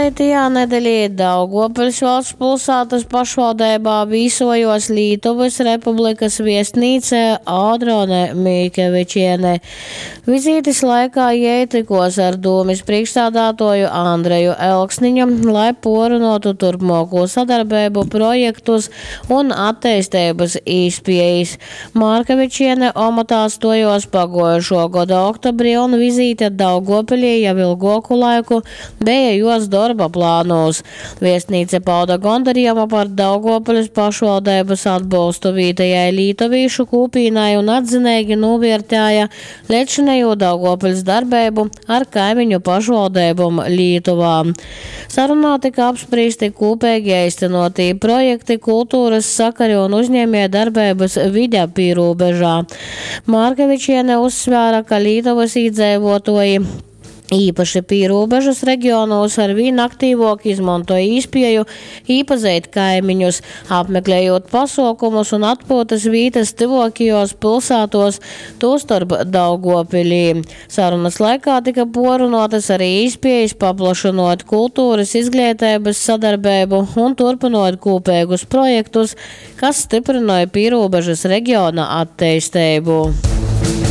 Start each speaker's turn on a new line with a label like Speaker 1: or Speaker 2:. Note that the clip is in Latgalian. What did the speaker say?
Speaker 1: Pagaitajā nedelī Daugovpiļs valstspilsātys pašvaldeibā vīsojuos Lītovys Republikys viestnīce Audrone Mikevičiene. Vizītis laikā jei tykuos ar dūmis prīšksādātuoju Andreju Elksniņu, lai puorrunuotu turpmuokū sadarbeibu, projektus un atteisteibys īspiejis. Markevičiene omotā stuojuos paguojušuo goda oktobrī un vizīte Daugovpilī jau ilguoku laiku beja juos dorba plānūs. Viestnīce pauda gondarījumu par Daugovpiļs pašvaldeibys atbolstu vītejai lītovīšu kūpīnai un atzineigi nūviertēja leidzšinejū Daugovpiļs darbeibu ar kaimiņu pašvaldeibom Lītuvā. Sarunā tyka apsprīsti kūpeigi eistynuotī projekti, kulturys sakari un uzņiemiejdarbeibys vide pīrūbežā. Markevičiene uzsvēra, ka Lītovys īdzeivuotuoji, īpaši pīrūbežys regionūs, arvīn aktīvuok izmontoj īspieju īpazeit kaimiņus, apmeklejūt pasuokumus un atpyutys vītys tyvuokajuos pylsātuos, tūstorp Daugovpilī. Sarunys laikā tyka puorrunuotys ari īspiejis paplašynuot kulturys, izgleiteibys sadarbeibu un turpynuot kūpeigus projektus, kas styprynoj pīrūbežys regiona atteisteibu.